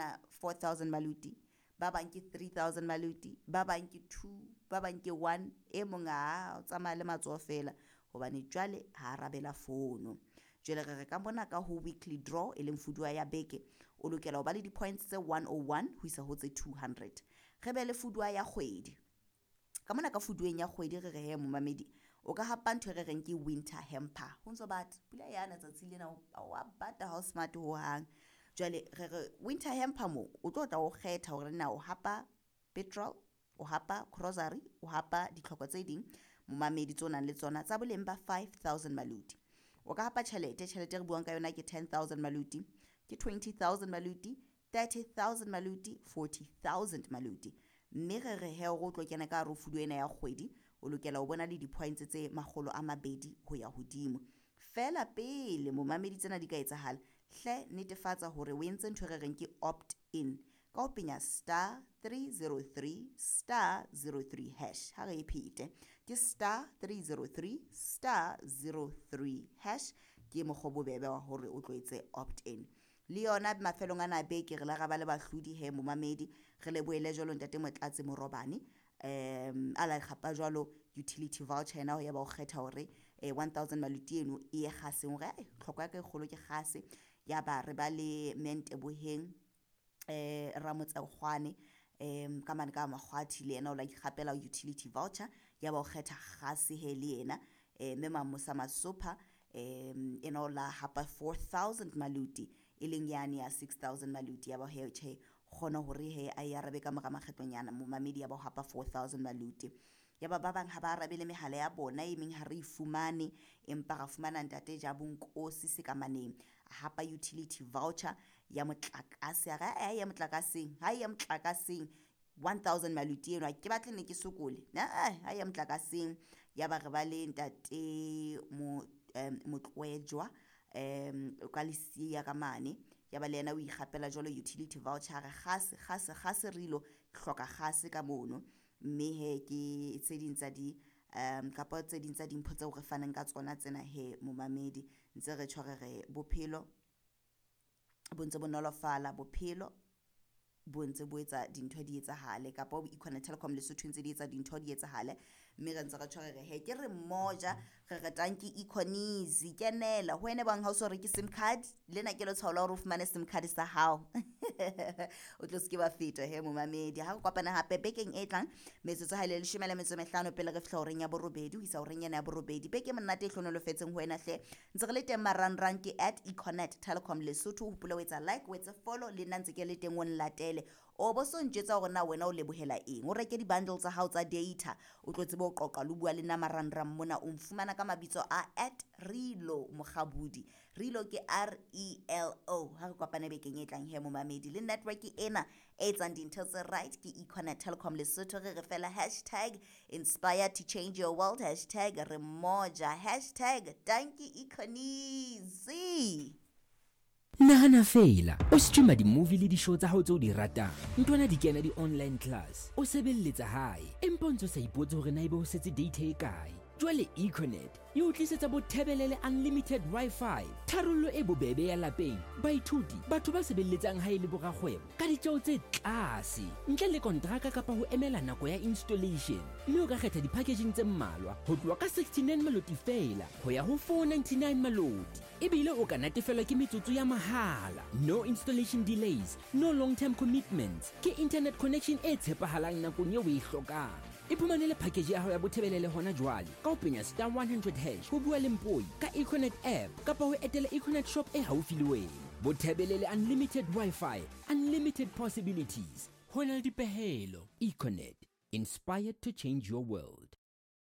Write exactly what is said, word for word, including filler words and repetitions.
fumana four thousand maluti, ba bang ke three thousand maluti, ba bang ke two, ba bang ke one. E mong a o tsamaya le matsoho fela hobane jwale ha arabela fono. Jwale re re ka mona ka ho weekly draw e leng fuduwa ya beke, o lokela ho ba le di-points tse one oh one ho isa ho tse two hundred. Re be le fuduwa ya kgwedi. Ka mona ka fuduweng ya kgwedi re re he momamedi, o ka hapa ntho e re reng ke winter hamper. Ho ntso bata, pula yana tsatsi lena wa bata ha o smart hohang. Jwale re re winter hamper mo o tlo tla o kgetha hore na o hapa petrol, o hapa grocery, o hapa ditlhoko tse ding momamedi tse o nang le tsona tsa boleng ba five thousand maluti. O ka hapa tjhelete, tjhelete re buang ka yona ke ten thousand maluti, ke twenty thousand maluti, thirty thousand maluti, forty thousand maluti. Mme re re he hore o tlo kena ka hare ho fuduwa ena ya kgwedi, o lokela ho bona le di-points tse makgolo a mabedi ho ya hodimo. Fela pele momamedi tsena di ka etsahala, hle netefatsa hore o entse ntho e re reng ke opt in ka ho penya star three zero three star zero three hash. Ha re e phete, ke star three zero three star zero three hash, ke mokgwa o bobebe wa hore o tlo etse opt in. Le yona mafelong ana a beke re la ra ba le bahlodi he momamedi, re lebohele jwalo ntate Motlatsi Morobane, um a la kgapa jwalo utility voucher ena ya ba o kgetha hore, eh, one thousand maluti eno e ye kgaseng hore, eh, tlhoko ya ka e kgolo ke kgase. Ya ba re ba le Menteboheng, eh, Ramotsekgwane, em, ka mane ka Makgwathi, le yena o la ikgapela utility voucher ya ba o kgetha kgase he le yena. Eh, mme Mamosa Masopha, em, ena o la hapa four thousand maluti, e leng yane ya six thousand maluti. Ya ba he tjhe, kgona hore he a e arabe ka mora makgetlonyana momamedi, ya ba o hapa four thousand maluti. Ya ba ba bang ha ba arabele mehala ya bona, e meng ha re e fumane, empa ra fumana ntate Jabonkosi Sekamaneng a hapa utility voucher ya motlakase. A re, ha ya motlakaseng, ha ya motlakaseng one thousand maluti eno, ha ke batle ne ke sokole. Ha, ha ya motlakaseng. Ya ba re ba le ntate Mo-, em, Motlwejwa, em, ka Lesiya ka mane. Ya ba le yena o ikgapela jwalo utility voucher. A re kgase, kgase, kgase re ilo hloka kgase ka mono. Mme he ke tse ding tsa di, em, kapa tse ding tsa dimpho tseo re fanang ka tsona tsena he momamedi. Ntse re tjho re re bophelo bo ntse bo nolofala, bophelo bo ntse bo etsa dintho di etsahale, kapa bo Econet Telecom Lesotho ntse di etsa dintho di etsahale. Mme re ntse re tjho re re he ke re mmoja, re re tanki Econese, kenela ho wena bang ha o so reke SIM card, lena ke letshwao la hore o fumane SIM card sa hao. O tlo se ke wa feta he momamedi. Ha re kopana hape bekeng e tlang, metsotso ha e le leshome le metso e mehlano pele re fihla horeng ya borobedi, ho isa horeng ena ya borobedi. Beke monate e hlohonolofetseng ho wena hle. Ntse re le teng marangrang ke at Econet Telecom Lesotho. Hopola ho etsa like, o etse follow, le nna ntse ke le teng o nlatele. O bo so ntjwetsa hore na wena o lebohela eng. O reke di-bundle tsa hao tsa data, o tlo tsebe ho qoqa le bua le nna marangrang mona. O nfumana ka mabitso a at Relo Mokgabudi. Relo ke R E L O. Ha re kopane bekeng e tlang he momamedi. Le network ena e etsang dintho tse right ke Econet Telecom Lesotho. Re re fela hashtag inspire to change your world, hashtag re mmoja, hashtag tanki Econese. Nahana fela, o streama di-movie le di-show tsa hao tseo di ratang. Ntwana di kena di-online class, o sebelletsa hae, empa o ntso sa ipotse hore na ebe ho setse data e kae. Jwale Econet e o tlisetsa bothebelele unlimited Wi-Fi, tharollo e bobebe ya lapeng, baithuti, batho ba sebelletsang hae le borakgwebo ka ditjeo tse tlase, ntle le kontraka kapa ho emela nako ya installation. Mme o ka kgetha di-packaging tse mmalwa ho tloha ka sixty-nine maloti fela ho ya ho four ninety-nine maloti. Ebile o ka natefelwa ke metsotso ya mahala. No installation delays, no long-term commitments. Ke internet connection e tshepahalang nakong eo o e hlokang. Iphumanele package ya hao ya bothebelele hona jwale ka ho penya star one hundred hash ho bua le Mpoi ka Econet app kapa ho etela Econet shop e haufi le wena. Bothebelele unlimited Wi-Fi, unlimited possibilities. Ho na le dipehelo. Econet, inspired to change your world.